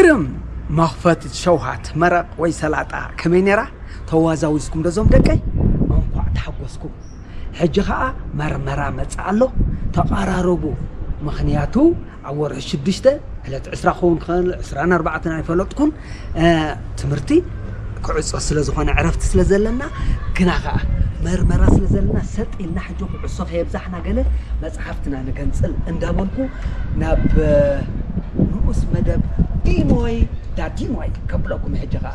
ቅድም መኽፈቲ ሸውሃት መረቕ ወይ ሰላጣ ከመይ ነይራ? ተዋዛዊዝኩም ዶ ዞም ደቀይ? እንኳዕ ተሓጎስኩም። ሕጂ ኸኣ መርመራ መጽእ ኣሎ። ተቐራረቡ። ምኽንያቱ ኣብ ወርሒ ሽዱሽተ ዕለት ዕስራ ክኸውን ክኽእል፣ ዕስራን ኣርባዕተን ኣይፈለጥኩን። ትምህርቲ ክዕጾ ስለ ዝኾነ ዕረፍቲ ስለ ዘለና፣ ግና ኸኣ መርመራ ስለ ዘለና ሰጥ ኢልና ሕጂ ኩዕሶ ከየብዛሕና ገለ መጽሓፍትና ንገንጽል እንዳበልኩ ናብ ንኡስ መደብ ዲሞይ ዳዲሞይ ከብለኩም። ሕጂ ኸኣ